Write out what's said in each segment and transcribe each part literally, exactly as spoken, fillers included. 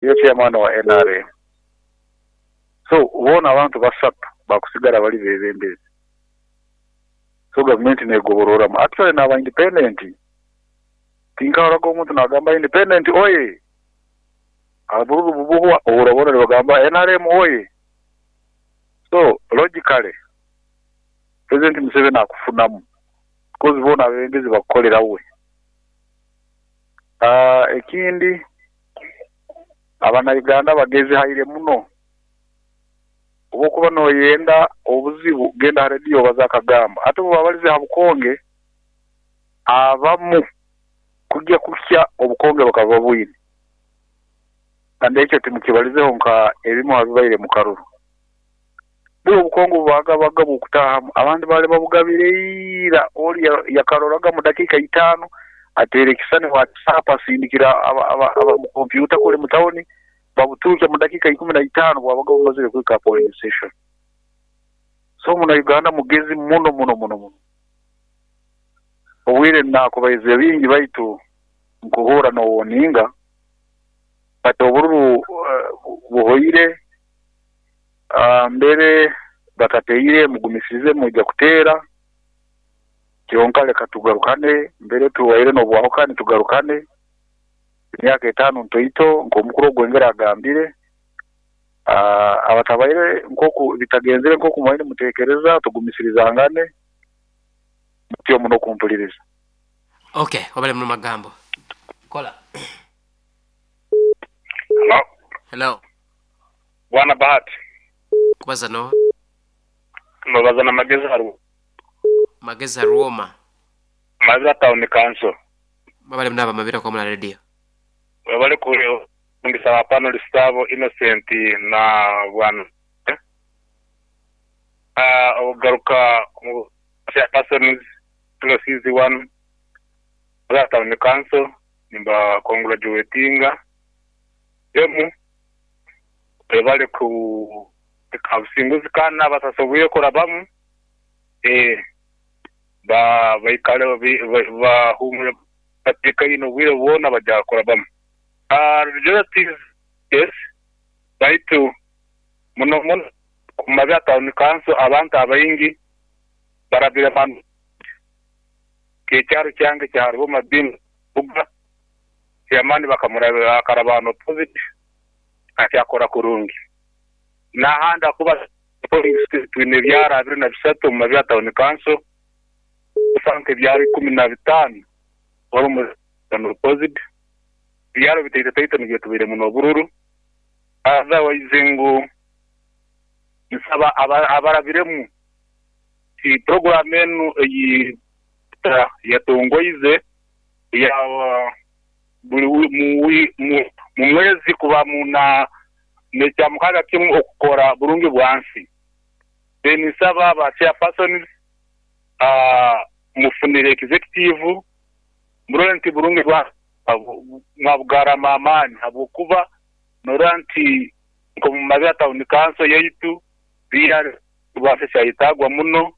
Niwe chairman wa N R M. So boona abantu basatu bakusigara bali bebembezi. So gavumenti negobororamu. Actually n'aba independent tinkahoraga omuntu nagamba independent oye abururu bubuhwa oburabona nibagamba N R M oye. So logically President Museveni akufunamu because boona abebembezi bakukolera we. Uh, ekindi Abana-Uganda bagezi haire muno. Obukuba noyenda obuzibu genda ha radio baza akagamba ate bwabalize ha bukonge abamu kujya kusya obukonge bakaba bwine kandi ekyo timukibalizeho nka ebimu abibaire mu karuru. Bwo obukonge bubagabaga bukutahamu abandi bali babugabire ira oli yakaroraga mu dakika itaano atere kisane WhatsApp asindikira aba, aba, aba mu kompyuta kule mu tawuni babutuuka mu dakika ikumi na itaano bwabaga bumazire kwika polling station. So muna Uganda mugezi muno muno muno muno. Obwire nakubaize bingi baitu nkuhura nowoninga but obururu uh, buhoire uh, mbere batateire mugumisize mujja kuteera kyonka leka tugarukane mbere tuwaire nobwahukane tugarukane emyaka etaano ntoito nk'omukuru ogwengera agambire uh, abatabaire nkoku bitagenzere nkoku mwaine mutekereza tugumisirizangane mutyo muno kumpuliriza. Okay, wabale muno magambo. Kola. Hello. Hello. Bwana Bahati. Kubaza no. Mbabaza na Magezi Haru. Magezi Haruoma. Mabira Town Council. Babale mnaba Mabira kwa mna radio. Wabale kule ngisaba panelist abo Innocent na bwana. Ah uh, ogaruka mu persons plus one Mabira Town Council nimba congratulatinga emu wabale ku kabusinguzi kana basasobuye kurabamu eh ba baikale ba humure batika ino bwire bona bajya kurabamu. Ah relative yes baitu muno muno kumabya Town Council abantu abayingi barabira bantu kecyaro cyange cyarwo madini buga yamani bakamurabira akarabano positive acyakora kurungi nahanda kuba twine byara abiri na bisatu mu Mabira Town Council usanke byari kumi na bitanu wari mu positive byaro bitete tete ngiye tubire muno bururu otherwise ngo nsaba abarabiremu ti program enu iyi yatongoize ya buli mu mwezi kuba muna necyamukaga kimwe okukora burungi bwansi then nsaba ba chairpersons ah mufunire executive murore nti burungi bwa mwabugara amani habwokuba noranti nko mu Mabira Town Council yaitu biyar bwase cyayitagwa muno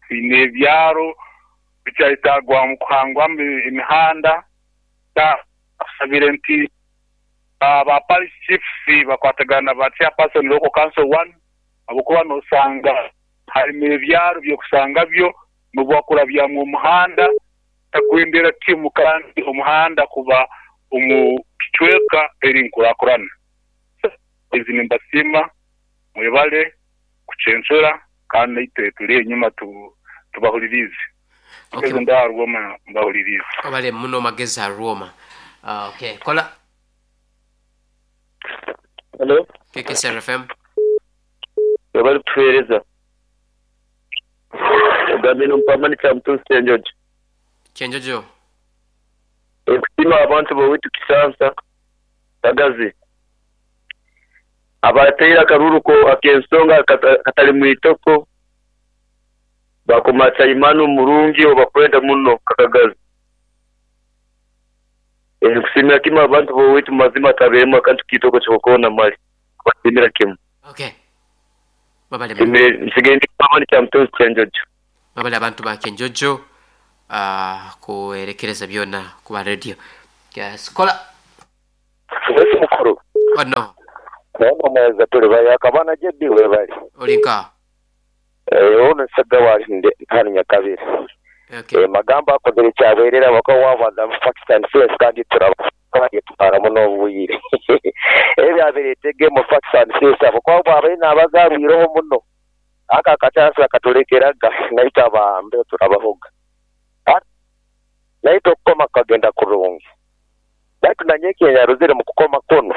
sine byaro bicyayitagwa mu kuhangwa imihanda ta asabire nti aba parish chiefs bakwatagana ba chairperson local council one abokuba nosanga harimo ebyaro byo kusanga byo nubwakura bya mu muhanda takwendera timu kandi omuhanda kuba omu kicweka eri nkurakurana izi nimbasima mwebale kucensura kandi itwe turi enyuma tubahulirize. Okay. Ndarwoma mbahulirize. Abale muno Magezi Haruoma. Uh, okay, kola. Hello. K K S R F M. Webale kutuhereza. Ogambe nompamani kya Mutunzi Kyenjojo. Kyenjojo. Ekusiima abantu bowitu Kisansa Kagazi abateire akaruru ko ak'ensonga katali mwitoko bakomatsa imanu murungi obakwenda muno kakagazi. Ekusiimira kimwe abantu bowitu mazima tabeemu akantu kitoko kyokona mali basimira kimwe. Okay. Babale nsigaye ndi mpamani kya Mutunzi Kyenjojo. Babale abantu ba Kyenjojo uh, kuerekereza byona kuba radio. Yes, kola. Wese mukuru. Ono Ono tuli bayaka bana J B we bali. Olinka. Eh, ono Segawa hano Nyakabiri. Okay. Eh, magambo akozere kyaberera bako wabaza facts and figures, kandi turaba tutwaramu n'obwire ebyabiretege mu facts and figures abo kuba bwabaire nabazarwireho muno aka akachansi akatulekeraga naitwe abambe turabahoga. Ah, naitwe okukoma kukagenda kurungi, baitu nanye ekyaruzire mu kukoma kuno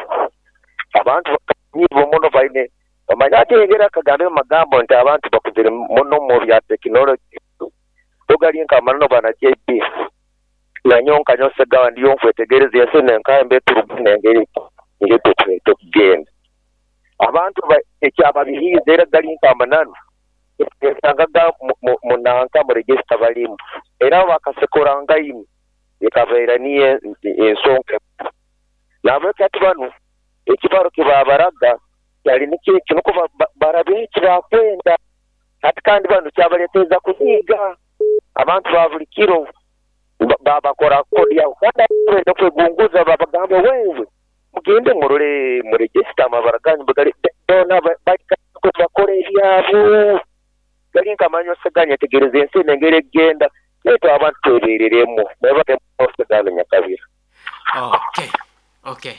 abantu nyibo muno baine bamanya ati engeri akagambe mu magambo nti abantu bakuzire muno mu bya tekinologi tugali nkamanano bana J B nanyonka nyosegawa ndiyo nkwetegereza ensi nenkambe turugune engeri ngeri tukugenda abantu ba- ekyababihiiza era gali nkamanano esangaga munanka mu register balimu era bakasekorangaini ekabeera niyo ensonga nabweki ati banu ekibaro kibabaraga kyali nikyo nuko barabe ekibakwenda ati kandi banu kyabaleeteza kunyiga abantu ba buli kiro ba- babakora kodi yaho kandi benda kwegunguza babagamba wewe mugende murore mu register amabara ganyu bgali bona bakora ebyabo gali nkamanyi oseganya tegereza ensi nengeri egenda naitwe abantu twebereremu naye Nyakabira. Okay. Okay.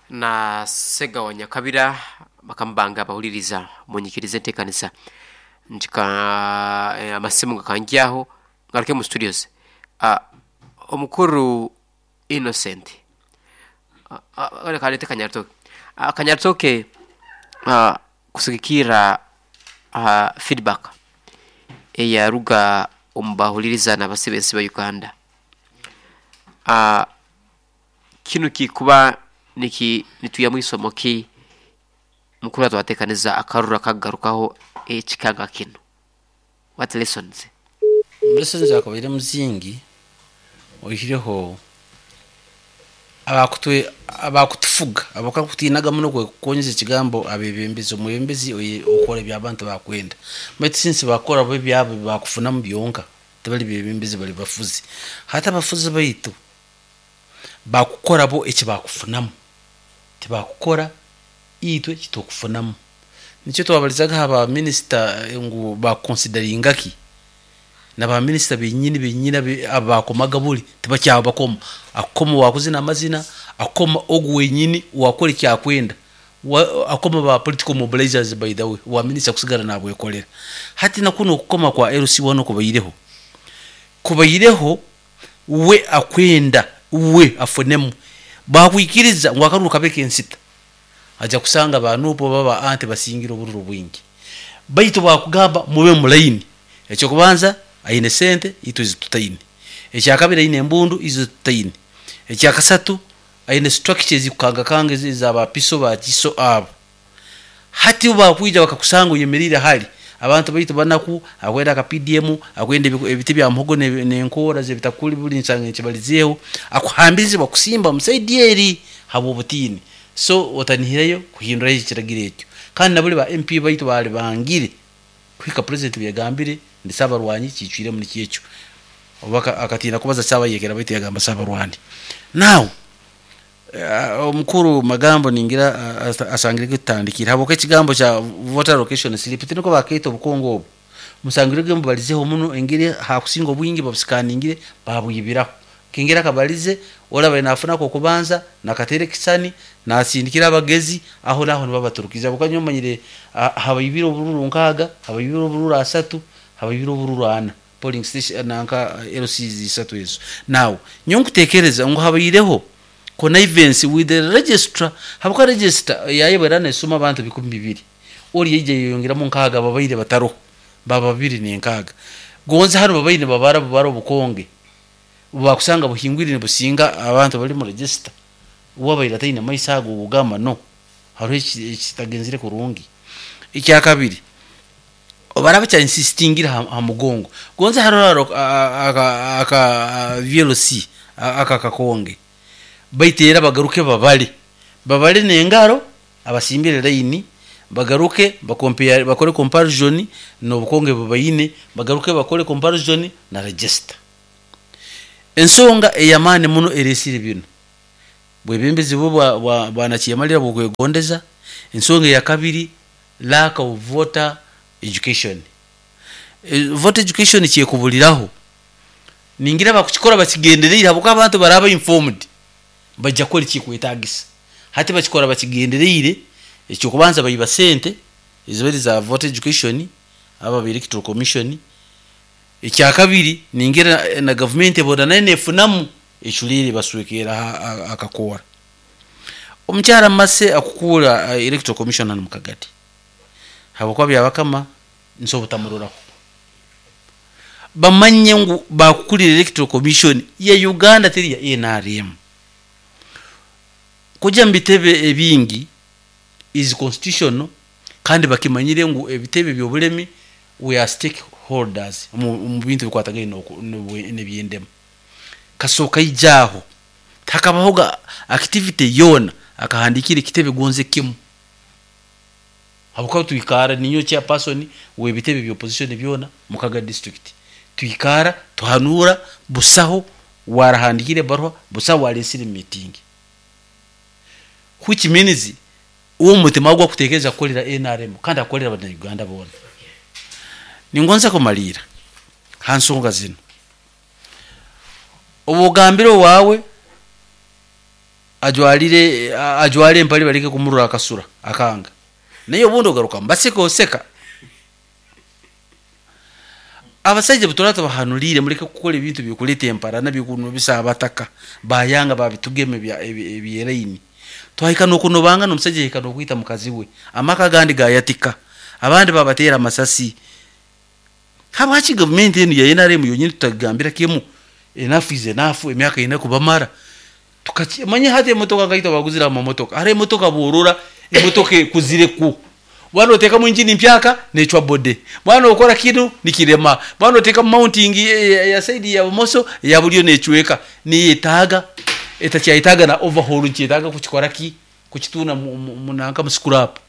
Na Segawa Nyakabira bakambanga abahuliriza munyikirize enteekanisa ntika eh, amasimu gakanjyaho ngaruke mu studios. uh, omukuru Innocent, uh, uh, kalete Kanyaritoke, uh, Kanyaritoke, uh, kusigikira uh, feedback eyaruga omu bahuliriza n'abasibensi ba Uganda, uh, kinu kikuba niki nituya mwisomo ki mukuru atwatekaniza akarura kagarukaho ekikanga kino, what lessons? Lessons akabaire muzingi oihireho abakutwe abakutufuga abakakutinaga muno kwekonyeza ekigambo abebembezi omwebembezi oye- okora ebyabantu bakwenda, baitu since bakora bo ebyabo bakufunamu byonka tibali bebembezi, bali bafuzi. Hati abafuzi baitu bakukora bo ekibakufunamu, tibakukora itwe kitukufunamu. Nikyo twabalizaga aba minisita ngu bakonsideringa ki na ba minisita benyini benyini abe- abakomaga buli tibakyabakoma akoma wakuzina amazina akoma ogu wenyini wakora ekyakwenda. Wa- akoma ba political mobilizers. By the way, wa minisita kusigara nabwekolera. Hati nakuno okukoma kwa L C one kubaireho kubaireho we akwenda we afunemu bakwikiriza ngu akaruru kabe kensita aja kusanga banupo baba ante basingira obururu bwingi, baitu bakugamba mube mulaini. Ekyokubanza aine sente itwe zitutaine, ekyakabiri aine embundu izo tutaine, ekyakasatu aine structures zikukangakanga ezi za bapiso bakiso abo. Hati bakwija bakakusanga oyemerire hali abantu baitu banaku akwenda aka P D M akwenda ebiku- ebiti bya muhogo ne- nenkora zebitakuli buli nsanga ekibalizeeho akuhambirize bakusimba musaidi eri habwa obutiini. So otanihireyo kuhindurayo ekiragiro ekyo. Kandi nabuli ba M P baitu bali bangire kuhika president byagambire ndi sabarwanyi kicwire muri kyekyo oba aka- akatina kubaza sabayekera baitu yagamba sabarwani. Now uh, omukuru magambo ningira uh, asa- asangire kutandikira habwokuba ekigambo kya voter location slip tiniko bakeita obukongo obu musangire ge mubalizeho muno engeri hakusinga obwingi babusikaningire babwibiraho kengera akabalize olaba nafunako okubanza nakatere kisani nasindikira abagezi aho naho nibabaturukiza bukanya omanyire habaibira obururu nkaaga, habaibira obururu asatu, habaibira obururu ana polling station nanka L Cs isatu ezo. Now nyo nkutekereza ngu habaireho connivance with the registrar habuka register yayebera nesoma abantu bikumi bibiri ori yaija yeyongeramu nkaaga babaire bataroho baba babiri nenkaaga gonze hano babaire babara babara obukonge bakusanga buhingwire nibusinga abantu bali mu register wabaire ataine maiso ago kugamba no hariho eki- ekitagenzire kurungi. Ekyakabiri obaraba kya insistingira ha, ha mugongo gonze hariho aka, aka, aka V L C aka kakonge baitu era bagaruke babale babale nengaro abasimbire line bagaruke bakompare bakore comparison n'obukonge bubaine bagaruke bakore comparison na register. Ensonga eyamaani muno eresire bino. Bwebembezi bwe bwa- bwa- bwanakyemalira bwokwegondeza. Ensonga eya kabiri, lack of voter education. Eh, voter education kyekubuliraho ningira bakukikora bakigendereire, habwokuba abantu baraba informed bajja kukora ekikwetagisa. Hati bakikora bakigendereire. Ekyokubanza, baiba sente ezibari za voter education aba ba Electoral Commission. Ekyakabiri, ningira eh, na gavumenti ebona nayo nefunamu eculeire baswekera akakora. Omukyara mase akukuura eh, Electoral Commission hanu mukagati, habwokuba Byabakama nso obutamuroraho, bamanye ngu bakukulira Electoral Commission ya Uganda, teri ya N R M. Kujya mu bitebe ebingi is constitutional, kandi bakimanyire ngu ebitebe byobulemi, we are stakeholders mu mu bintu bikwatagaine n'oku- n'obwe- n'ebyendema. Kasooka ijaaho takabahoga activity yoona akahandikira ekitebe gonze kimu, habwokuba twikara ninyo chairperson w'ebitebe bya opposition byona mukaga district. Twikara tuhanura, busaho warahandikire barua, busaho walesire meeting, which means uwo mutima gwa kutekereza kukolera N R M kandi akolera Abanyarwanda bona. Ningonza kumalira ha nsonga zino. Obugambire wawe ajwalire ajwale empali baleke kumurura akasura akanga, naye obundi ogaruka mbaseka oseka. Abasajja butora tubahanulire, muleke kukola ebintu byokuleta emparana bikuno bisa abataka bayanga babitugeme bya ebyeraini. Twahika nokunobanga nomusajja yahika nokwita mukazi we, amaka gandi gayatika, abandi babatera amasasi. Habwaki gavumenti enu ya N R M yonyini tutagambira kimu, enough is enough? Emyaka ina kubamara tukamanye. Hati emotoka ngaita baguzira amamotoka, hari emotoka borora emotoka ekuzireku bwana, otekamu injini mpyaka necwa bode bwana, okora kinu nikirema bwana, oteka mounting ya, ya side ya bumoso ya bulyo necweka, niyetaga etakyayetaga na overhaul, nkyetaga kukikora ki kukituna munanka mu scrap.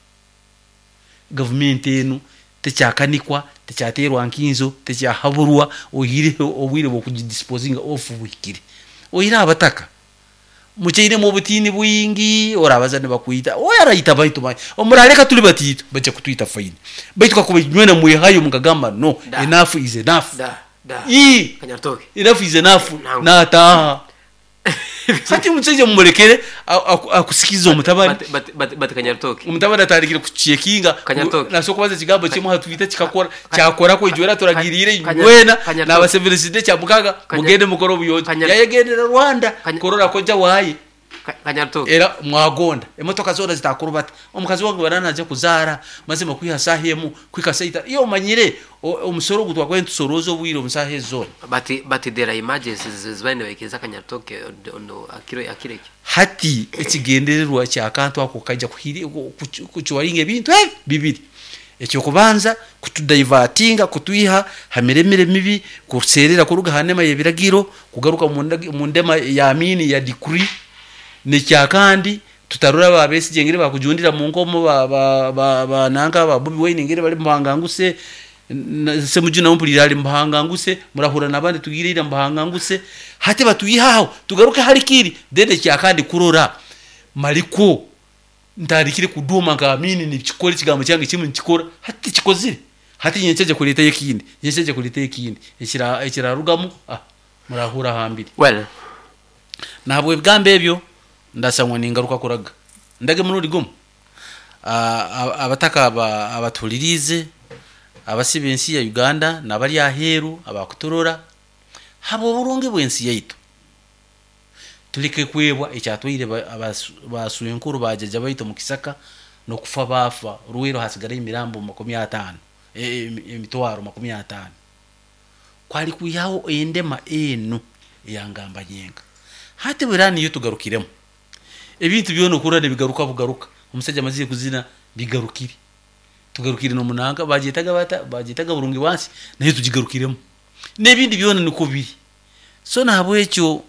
Gavumenti enu tekyakanikwa, tekyaterwa nkinzo, tekyahaburwa. Ohireho obwire bwokugidisposinga off buhikire. Ohire abataka muchainemu obutini bwingi, orabaza nibakwita oyo arayita baitu ba omuraleka tuli batiito bajja kutwita, fine, baitu kakuba nywena mwehayo mukagamba no. Da. Enough is enough. Da da. Ii. Kanyaritoke. Enough is enough. Nangu. Nataha hati omusajja mumulekere akusikiza omutabani. Bati- bati- bati- bati Kanyaritoke. Omutabani atandikire kuchekinga. Kanyaritoke. Nasobola kubaza ekigambo kimu hatwita kikakora kyakorako ijwera turagirire. Kanya- Nywena Kanyaritoke. nabasevereside kyamukaga. Kanya- Mugende mukore obuyonjo. Kanya- Yayegendera Rwanda Kanya- korora koja waye. Ka- kanyaritoke Era mwagonda emotoka zona zitakurubata. Omukazi wange barana aje kuzaara mazima kwiha saha emu kwika saita iyo omanyire o- omusoro ogu twakwaye ntusoroza obwire omusaha ezona. Bati bati there are emergencies zibaine baikiriza Kanyaritoke ono akiro akireke. Hati ekigendererwa kyakantu ako kajja kuhiri- ku- ku- kukiwaringa ebintu ebi bibiri. Ekyokubanza, kutudivertinga kutwiha ha miremire mibi, kuserera kuruga ha ndema y'ebiragiro kugaruka mu ndagi- mu ndema ya mini ya decree. Nekyakandi, tutarora ba Besigye ngere bakujundira mu nkomo, ba ba ba, ba nanka ba Bobi Wine ngere bali muhanganguse, Semujuna mpulira ali muhanganguse, murahura nabandi tugirira muhanganguse. Hati batuyihaho tugaruke hari kiri. Then ekyakandi, kurora maliko ntandikire kuduma nka Amini nikikora ekigambo kyange kimwe nikikora. Hati kikozire, hati nyenkyaje kuleetayo ekindi, nyenkyaje kuleetayo ekindi ekira ekirarugamu ah murahura hambiri. Well. Nahabwa ebigambo ebyo ndasangwa ningaruka kuraga ndage murundi gumu. Ah, ah, abataka aba- abatulirize abasiba ensi ya Uganda nabari aheru abakuturora, haba oburungi bw'ensi yaitu, tuleke kwebwa ekyatwaire ba- abasu- baswenkuru bajaja baitu mu kisaka nokufa bafa rwero hasigara emirambo makumi ataano, e- e- emitwaro makumi ataano, kwali kwihaho endema enu eyangamba nyenga. Hati bwera niyo tugarukiremu ebintu byona okura nibigaruka bugaruka. Omusajja amazire kuzina bigarukire, tugarukire nomunanga bagyetaga bata bagyetaga burungi wansi naye tugigarukiremu n'ebindi byona niko biri. So nahabwekyo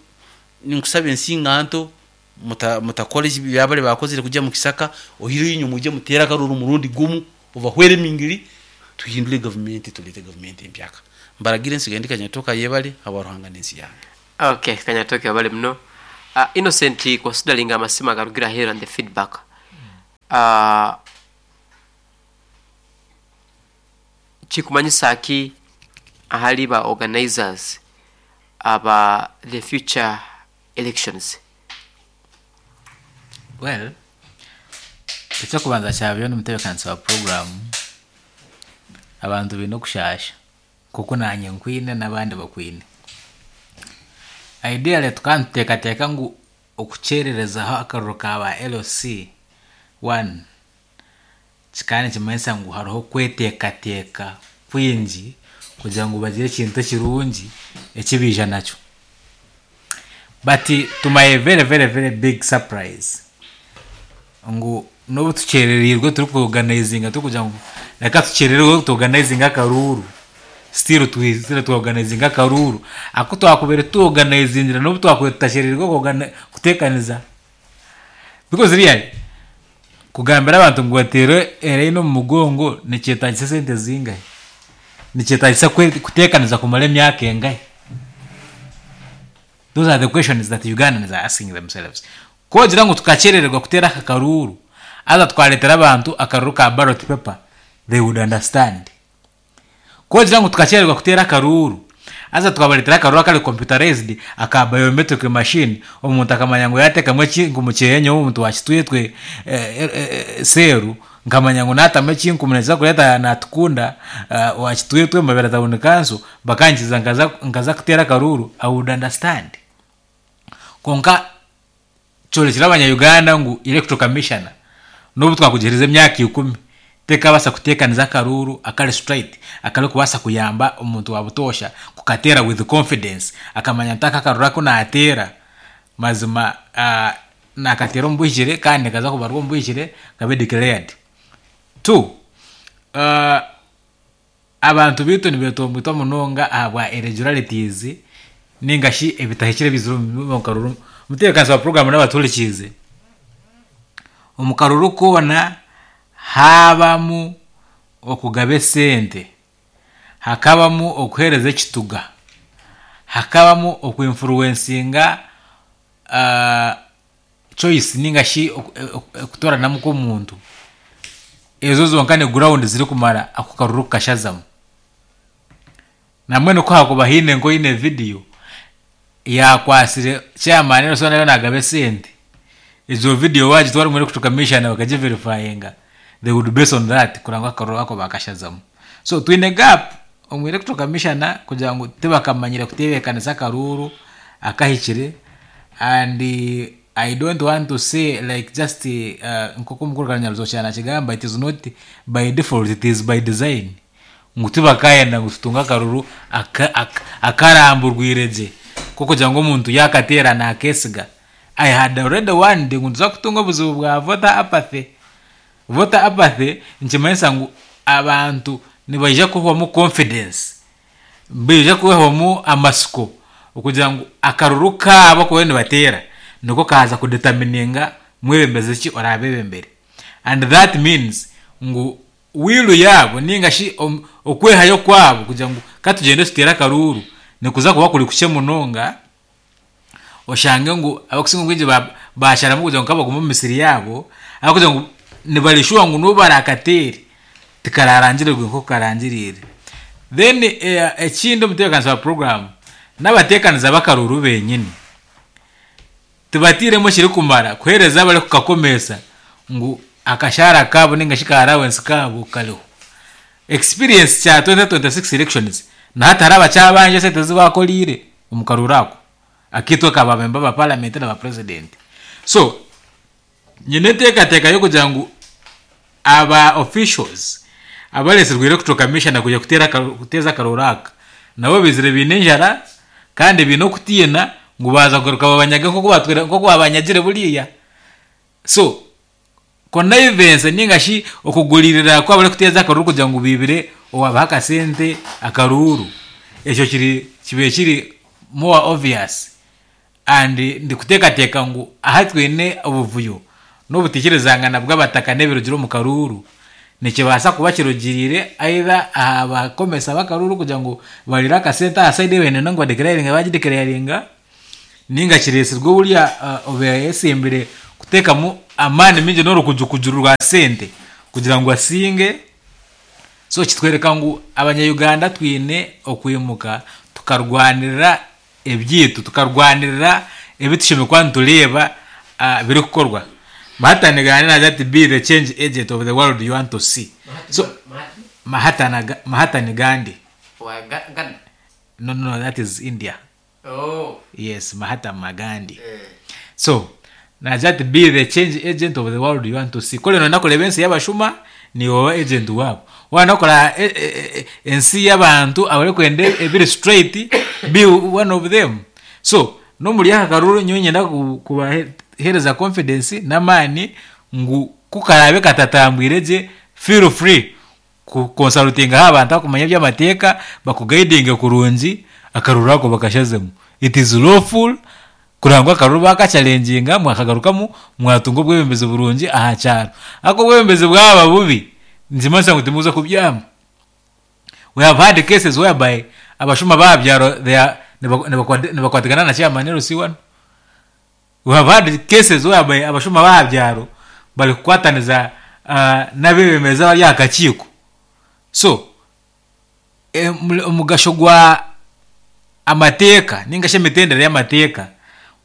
ninkusaba ensinganto muta- mutakora ekibi byabale bakozire kujya mu kisaka. Ohireyo inyuma ujye mutera akaruru murundi gumu obahwere emingiri, tuhindure gavumenti, tulete gavumenti empyaka. Mbaragire nsigaye ndi Kanyatoka. Yebale abaruhanga n'ensi yange. Okay, Kanyaritoke, wabale muno. Uh, Innocent, considering amasima garugira here and the feedback, uh, kikumanyisa ki ahali ba organizers aba the future elections? Well, ekyokubanza kyabyo n'omutebeekanisa wa puroguramu, abantu baine okushasha kuko nanye nkwine n'abandi bakwine. Ideally tukaba nituteekateeka ngu okukyerereza akaruru ka ba L C one kikaba nikimanyisa ngu hariho okweteekateeka kwingi kugira ngu bagire ekintu ekirungi eki baija nakyo. But to my very very very big surprise, ngu n'obu tukyerereirwe turikuorganizinga, turikugira ngu reka tukyerererwe tuorganizinge akaruuru, still twizire tuorganizinga akaruuru aku twakubire tuorganizingira n'obu twakubire tutashererirwe kuorgani- kuteekaniza, because really kugambira abantu ngu bateere eraini omu mugongo nikyetagisa esente zingahi, nikyetagisa kwe- kuteekaniza kumara emyaka engahi? Those are the questions that Ugandans are asking themselves. Kogira ngu tukakyerererwa kuteera aka karuuru, aza twareetera abantu akaruru ka ballot paper, they would understand. Kogira ngu tukakyerererwa kuteera akaruuru, aza twabareetera akaruru akari computerized, aka biometric machine, omuntu akamanya ngu yateekamu ekinkumu kyeye, nyowe omuntu wakitwetwe eh, eh, eh, seeru nkamanya ngu naatamu ekinkumu nikiza kureeta natukunda uh, wakitwetwe Mabera Town Council, bakankiza nkaza, nkaza kuteera akaruuru, I would understand. Konka kyorekire abanya-Uganda ngu Electoral Commissioner, n'obu twakugihereza emyaka ikumi, tekabasa kuteekaniza akaruuru akari straight, akarikubaasa kuyamba omuntu wa butoosha kukateera with confidence, akamanya nti aka akaruru aku naateera mazima uh, nakateera omu bwihikire kandi kaza kubarwa omu bwihikire, kabe declared. Two, uh, abantu bitu nibetomboitwa munonga ahabwa irregularities ninga shi ebitahikire bizire omu karuru. Mutebeekanisa wa puroguramu n'abaturikiize, omu karuru koona habamu okugaba esente, hakabamu okuheereza ekituga, hakabamu okuinfluencinga uh, choice ninga shi okutoranamu kw'omuntu, ezo zonka ni ground zirikumara ako karuru kukashazamu. Namwe nuko hakuba haine nkoine video yakwasire chairman Nelson nayo nagaba esente, ezo video wagitwara muri Electoral Commission bakagiverifyinga, they would base on that kuranga akaruru ako bakashazamu. So twine gap omu Electoral Commissioner kugira ngu tibakamanyire kutebeekanisa akaruru akahikire. And uh, I don't want to say like just uh, nk'oku omukuru Kanyaruzokya nakigamba, it is not by default, it is by design, ngu tibakayenda ngu tutunge akaruru akaramburwire gye kugira ngu omuntu yakateera nakesiga. I had already warned ngu nituza kutunga obuzibu bwa voter apathy. Voter apathy nikimanyisa ngu abantu nibaija kuhwamu confidence, baija kuhwamu amasiko okugira ngu akaruru kaabo kuba nibateera niko kaza kudetermininga mwebembezi ki oraabebembere. And that means ngu wilu yaabo ninga shi okwehayo kwabo kugira ngu katugende tuteere akaruru nikuza kuba kuri kukye munonga, oshange ngu abakusinga obwingi basharamu kugira ngu kabagume omu misiri yaabo, ahakugira ngu nibarishuwa ngu n'obu barakateere tikararangirirwe nk'oku karangiriire. Then eh, ekindi, omutebeekanisa wa puroguramu, n'abateekaniza b'akaruru benyini tibatiiremu ekirikumara kuheereza abarikukakomesa ngu akashaara kaabo ninga shi ka allowance kaabo kariho. Experience kya twenty twenty-six elections, nahati hariho abakyabanja esente zibakoriire omu karuru ako akiitwe ka bamemba ba parliament na ba president. So nyine enteekateeka y'okugira ngu aba officials abaresirwe Electoral Commission kuja kuteera kuteeza akaruru aka nabo bizire biine enjara kandi biine okutiina ngu baza kugaruka babanyage nk'oku batwire, nk'oku babanyagire buriya. So connivance ninga shi okuguririra kwabo kuteeza akaruru kugira ngu bibire owabaha akasente akaruru, ekyo kiri kibe kiri more obvious. And ndikuteekateeka ngu aha twine obuvuyo n'obutikirizangana bw'abataka n'ebirugire omu karuru nikibaasa kuba kirugiriire either aha bakomesa b'akaruru kugira ngu barire akasente aha side bene ngu badeclaringa bagideclaringa, Ninga kiresirwe burya uh, obeyesimbire kuteekamu amaani mingi n'orukujukujuru rwa sente kugira ngu asinge. So kitwereka ngu abanyayuganda twine okwimuka tukarwanirira ebyitu, tukarwanirira ebitushemekwa nitureeba uh, birikukorwa. Mahatma Gandhi nagira ati be the change agent of the world you want to see. So Mahatma Mahatma Gandhi. Wa Ga- Gandhi. No, no, that is India. Oh. Yes, Mahatma Gandhi. Eh. So nagira ati be the change agent of the world you want to see. Kore nona kureba ensi y'abashuma ni wowe agent wabo. Wanakora e, e, e, ensi y'abantu abarikwenda ebiri straight, be one of them. So nomuri aka karuru nyowe nyenda ku- kubahereza confidence n'amaani ngu kukarabe katatambwire gye, feel free kukonsultingaho abantu akumanya eby'amateeka bakuguidinge kurungi akaruru ako bakashazemu. It is lawful kurangwa akaruru bakachallenginga mwakagarukamu mwatunga obwebembezi burungi aha kyaro. Ako obwebembezi bwaba bubi nzimasa ngu timuza kubyama. We have had cases whereby abashuma babyaro they are nibakwatigana na chairman L C one. We have had cases whereby abashuma babyaro bari kukwataniza uh, n'abebembezi abari aha kakiiko. So omugasho gwa amateeka ninga shi emitendere y'amateeka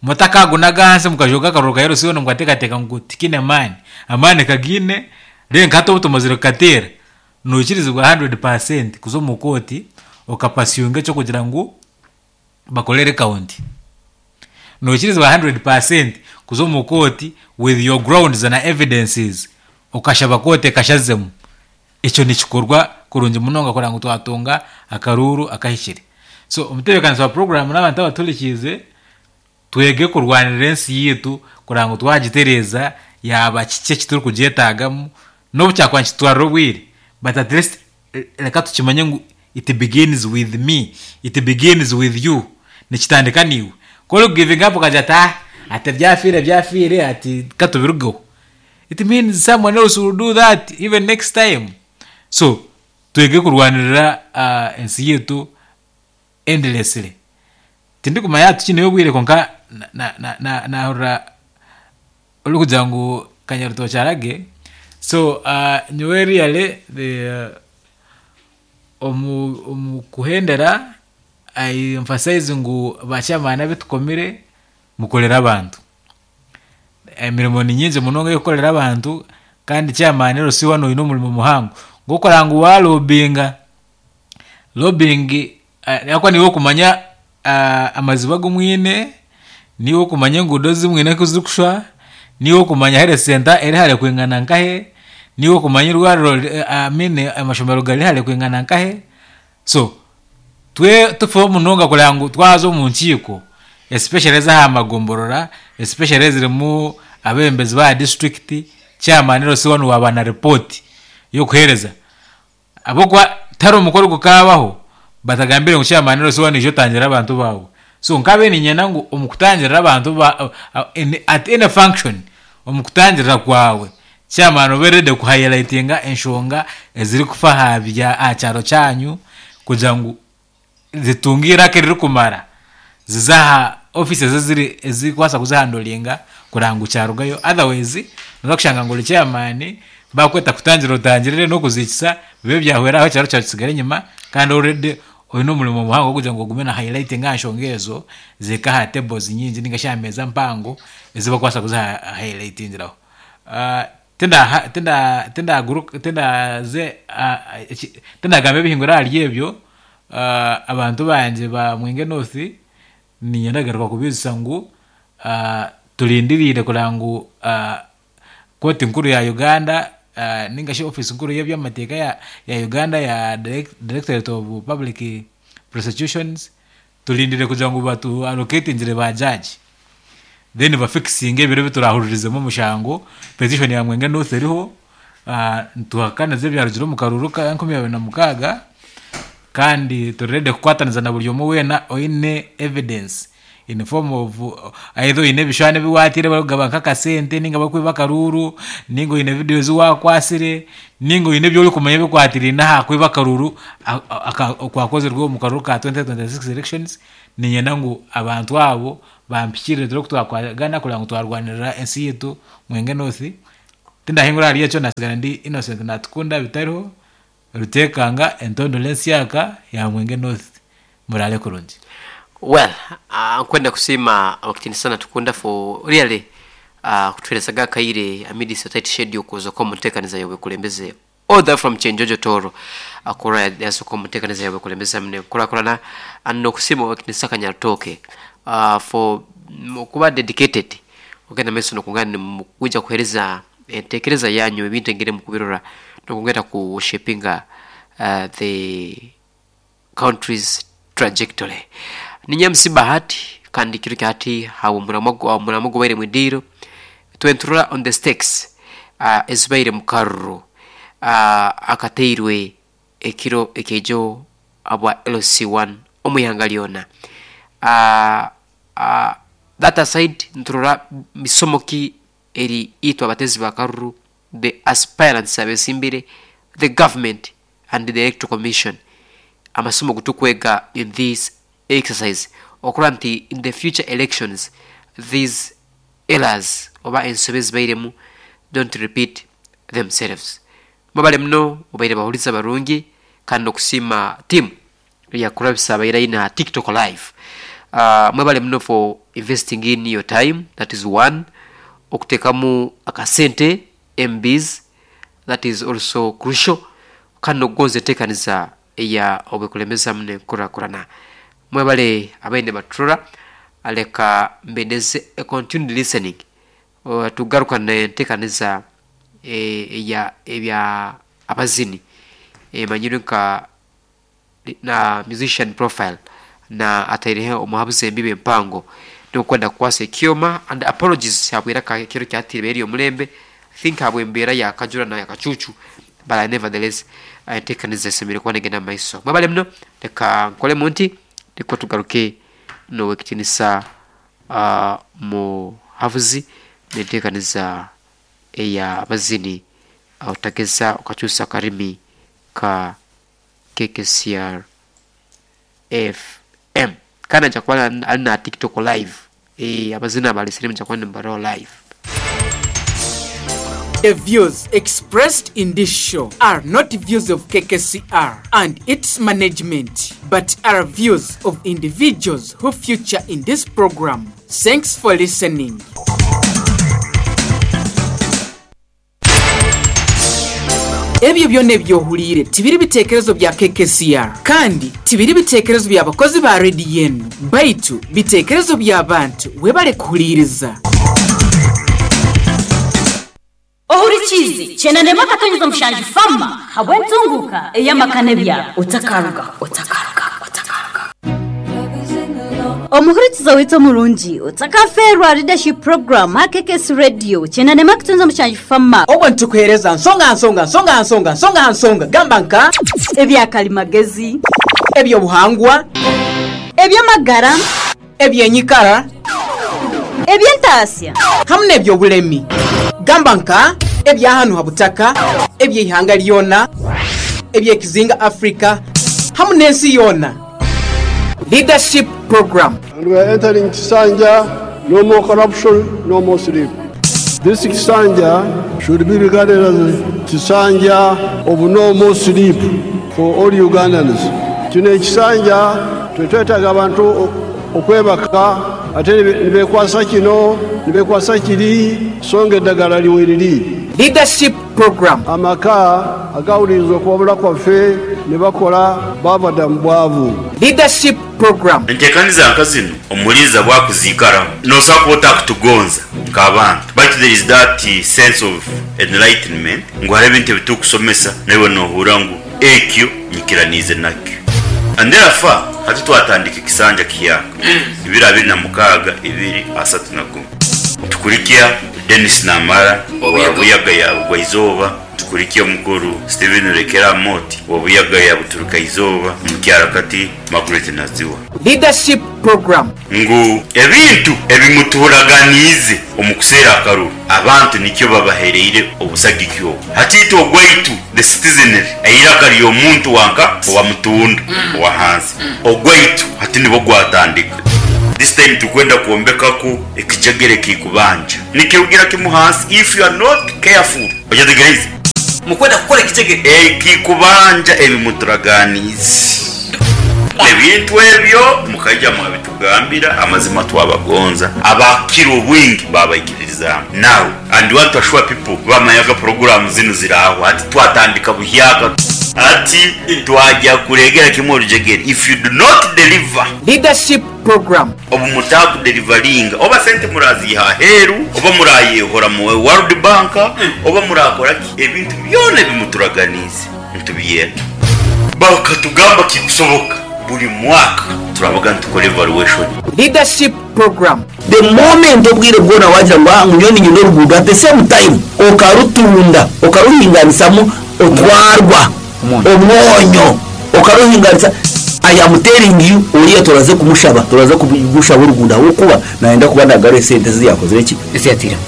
mutakagunaga ahansi mukajoga akaruru ka L C one mukateekateeka ngu tikine maani, amaani kagiine renka hati obu tumazire kukateera noikirizibwa hundred percent kuza omu kooti okapasiyunga ekyokugira ngu bakorere county. Noikirizibwa hundred percent kuza omu kooti with your grounds na evidences okashaba kooti ekashazemu. Ekyo nikikorwa kurungi munonga kugira ngu twatunga akaruru akahikire. So omutebeekanisa wa program n'abantu abaturikiize twege kurwanirira ensi yitu kugira ngu twagitereeza yaba kiki ekiturikugyetagamu n'obu kyakuba nikitwarira obwire, but at least reka tukimanye ngu it begins with me, it begins with you, nikitandika niiwe. Ku orikugiving up okagira ati ah, ati byafiire byafiire ati katubirugeho, it means someone else will do that even next time. So twege kurwanirira uh, ensi yitu endlessly. Tindikumanya tukineyo obwire konka nahurira orikugira ngu Kanyarutoki arage. So uh, nyowe really the uh, omu, omu kuhendera I emphasize ngu bachairman abitukomire mukorera abantu. Emirimo ni nyingi munonga y'okukorera abantu kandi chairman L C one oyine omurimo muhango gw'okora ngu walobinga lobbying uh, akwa niwe okumanya uh, amaziba g'omwine, niwe okumanya enguudo zimwine ku zirikushwa, niwe okumanya health center eri hare kwingana nkahe, niwe okumanya irwariro, uh, I mean, amashomero gari hare kwingana nkahe. So twe tufeho munonga kugira ngu twaza omu nkiiko especially ez'aha magomborora, especially ezirimu abebembezi ba district, chairman L C one waba na report y'okuheereza. Ahabw'okuba tihariho omukoro gukabaho batagambire ngu chairman L C one ija otangirira abantu baawe. So nkabe niinyenda ngu omu kutangirira abantu ba, uh, at any function omu kutangirira kwawe chairman obe ready kuhighlightinga enshonga ezirikufa aha bya aha kyaro kyanyu kugira ngu zitunge iraka eririkumara zize aha offices eziri ezirikubaasa kuzihandolinga kugira ngu kyarugayo. Otherwise noza kushanga ngu ori chairman bakweta kutangira otangirire n'okuzikisa bibe byahwera aho ekyaro kyawe kisigare enyima kandi already oyine omurimo muhango gw'okugira ngu ogume na highlighting aha nshonga ezo zihike aha tables nyingi ninga shi aha meeza mpango ezibakubaasa kuziha highlightingiraho. Uh, tinda tinda tindaguruka tindaze uh, tindagamba ebihingura ahari ebyo. uh, abantu bangye ba Mwinge North niinyenda kugaruka kubiijutsya ngu uh, turindiriire kugira ngu uh, kooti nkuru ya Uganda uh, ninga shi office nkuru y'eby'amateeka ya, ya Uganda ya Direct, Directorate of Public Prosecutions turindire kugira ngu batu allocatingire ba judge then bafixinge ebiro biturahururizemu omushango. Petition ya Mwinge North eriho, uh, nituhakaniza ebyarugire omu karuru ka enkumi abiri na mukaaga kandi turi ready kukwataniza na buri omwe weena oine evidence in form of either oine ebishushani ebi wateire barikugaba nk'akasente ninga barikwiba akaruru ninga oine video ezi wakwasire ninga oine ebi orikumanya ebikwatiraine aha kwiba akaruru okwakozirwe omu karuru ka twenty twenty-six elections. Niinyenda ngu abantu abo Bampikirire turi kutwakwagana kureba ngu twarwanirira ensi yitu Mwenge North. Tindahingura hariyo ekyo nasigara ndi Innocent Natukunda bitariho Rutekanga entondole ensyaka ya Mwenge North. Murale kurungi. Well, uh, nkwenda kusima abakitini sana Tukunda for really uh, kutuherezaga akaire amidst a tight schedule kuza ko mutekaniza yobe kulembeze all that from Chenjojo Toro akora yaso ko mutekaniza yobe kulembeza mne kurakurana and nokusima abakitini saka Nyaritoke uh, for mm, kuba dedicated ogenda meso nokungana kuja kuhereza entekereza yanyu ebintu engere mukubirora nokungenda ku shapinga uh, the country's trajectory. Ninyamsi Bahati kandi kiro kyati hawo muramago muramago baire mwidiro twenturura on the stakes uh, ezibaire mukaruro uh, akateirwe ekiro ekejo abwa L C one omuyanga lyona. uh, uh, that aside, nturura misomo ki eri itwa abatezi bakaruru, the aspirants abesimbire, the government and the Electoral Commission, amasomo gutukwega in this exercise okura nti in the future elections these errors oba ensobe zibairemu don't repeat themselves. Mubale muno mubaire bahuliza barungi kandi okusima team yakurabisa abaire aina TikTok live. uh, mwebale muno for investing in your time, that is one. Okutekamu akasente M Bs, that is also crucial, kandi nokugonza enteekaniza eya obwekulembeza mune nkurakurana. Mwebale abaine baturora, aleka mbendeze a continued listening. uh, tugaruka enteekaniza eya ebya abazini emanyirwe nka na musician profile na ataireho omuhabuzi embibe empango nokwenda kukwasa ekyoma. And apologies habwera kiro kyatire eri omulembe, I think habwe embeera yakajura na yakacucu, but I nevertheless enteekaniza esemere kuba negenda mu maiso. Mwebale muno, leka nkole munti niko tugaruke nowekitinisa uh, muhabuzi nenteekaniza eya abazini otageza okakyusa akarimi ka K K C R F M kandi aja kuba ali na TikTok live. eh abazina abalesere muja kuba nimbaraho live. The views expressed in this show are not views of K K C R and its management, but are views of individuals who feature in this program. Thanks for listening. Ebyo byonna ebyohuliire tibiri biteekerezo bya K K C R kandi tibiri biteekerezo by'abakozi ba rediyo enu, baitu biteekerezo by'abantu. Webale kuhuliiriza. Ohurikizi chenanema akatonyeza mushanju fama habwe ntunguka eyamakane byabo otakaruga otakaruga otakaruga. Omuhurikiza witwa murungi otakaferwa leadership program ha K K S Radio chenanema kutunza mushanju fama. Obwo nitukuheereza nsonga nsonga nsonga nsonga nsonga nsonga gamba nka ebyakalimagezi, ebyobuhangwa, ebyamagara, ebyenyikara, ebyentasya hamwe n'ebyobulemi gamba nka ebyahanu ha butaka, ebyeihanga lyona, ebyekizinga Afrika hamwe n'ensi yona. Leadership program. And we are entering Kisanja, no more corruption, no more sleep. This Kisanja should be regarded as Kisanja of no more sleep for all Ugandans. Kino ekisanja tetwetaaga abantu okwebaka ate ne beekwasa kino ne beekwasa kiri so nga eddagala liweriri. Leadership program. Amaka agawuliriza okuwabula kwaffe ne bakola baava dda mu bwavu. Leadership program. Enteekaniza nka zino omuliiza bwakuziikaramu nosobola kuba otakutugonza nk'abantu, but there is that sense of enlightenment ngu hariho ebintu ebitukusomesa naiwe nohura ngu ekyo nyikiraniize nakyo. And therefore hati twatandika ekisanja kiyaka ibiri abiri na mukaaga ibiri asatu na gumwe, tukurikya Denis Namara wa Buyaga ya Bugwaizooba, tukurikya omukuru Steven Rekera Moti wa Buyaga ya Buturuka Izooba, mukyarakati Margaret Naziwa. Leadership program. Ngu ebintu ebimuturaganiize omu kuseera akaruru abantu nikyo babahereire obusagiki obwo. Hatiitwe ogwaitu the citizenry eiraka ly'omuntu wanka owa mutunda owa hansi ogwaitu hati nibwo gwatandika. This time tukwenda kwombekaku ekijegere kikubanja nikirugira kimu hansi. If you are not careful, ojategereza mukwenda kukora ekijegere ekikubanja ebimuturaganizi ebintu ebyo mukaija mwabitugambira amazima twabagonza abakira obwingi babaikiririzaamu. Now and want to assure people bamanyaga programu zinu ziraho ati twatandika buhyaka ati twajya kuregera kimwe orujegere. If you do not deliver Leadership program, obu mutakudeliveringa oba sente muraziha aheru oba murayehora mu World Bank oba murakora ki, ebintu byona ebimuturaganize ntubiyenda. Bakatugamba kikusoboka buli mwaka turabaga ntukora evaluation. Leadership program, The moment obwire bwona wagira ngu "Ah, ngunyoni nyine oruguudo," at the same time okarutunda, okaruhinganisamu otwarwa omwonyo okaruhinganisa. I am telling you, oriya turaze kumushaba, turaze kumushaba oruguudo ahabwokuba nayenda kuba nagaruha esente eziyakozire ki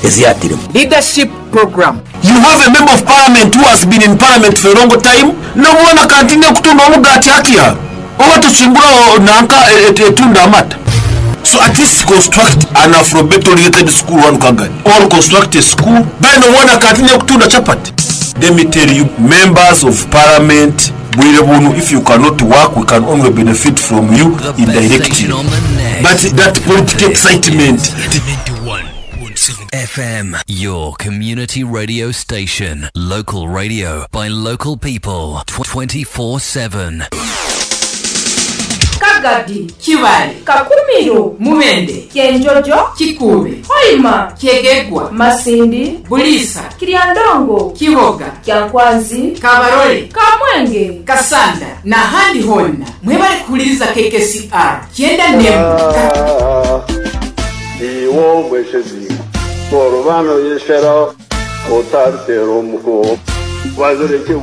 eziyatiremu. Leadership program, You have a member of parliament who has been in parliament for a long time, nobona kantine kutunda omugati hakiha oba tusimbura nanka etunda amata. So at least construct an alphabet oriented school one Kagadi, or construct a school beno wona kantine kutunda chapati. Let me tell you, members of parliament, bwire bunu, if you cannot work, we can only benefit from you indirectly, but that political excitement. F M, your community radio station. Local radio by local people twenty-four seven. Kagadi, Kibale, Kakumiro, Mubende, Kyenjojo, Kikuube, Hoima, Kyegegwa, Masindi, Bulisa, Kiryandongo, Kiboga, Kyankwanzi, Kabarole, Kamwenge, Kasanda n'ahandi honna mwebale kuhuliriza K K C R kyenda nemu. Iwo mweshezi, korobano yeshera, otartero muko, wazireke